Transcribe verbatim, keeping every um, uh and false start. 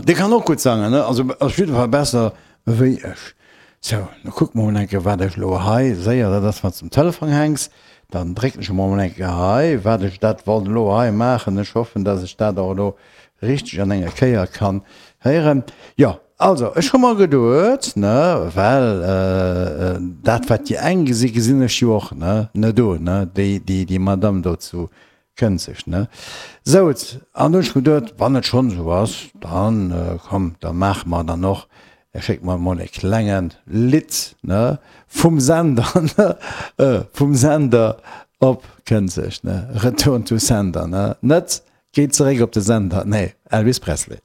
Dee kann och gutt sangen, ne? Also op jidde Fall besser wéi ech. Sou, da kucke mer mol eng Kéier, wat ech elo hei séier, dat ass, wann s de um Telefon hänks, dann drécken ech emol eng Kéier hei, wat ech dat wollt elo hei maachen. Ech hoffen, dass ech dat och elo richteg an enger Kéier kann héieren. Jo, also ech hu mer geduet, ne, well dat wat déi eng gesi gesinn ech jo och, ne, ne do, ne, déi, déi, déi Madame do zu Kënzeg, ne? Souz, an du hunn ech geduet, wann et schonn esou ass, dann komm, da maache mer dann och, schécke mer emol e klenge Lidd, ne, vum Sender, ne, vum Sender op Kënzeg, ne, Return to Sender, ne, net géi zeréck op de Sender, nee, Elvis Presley.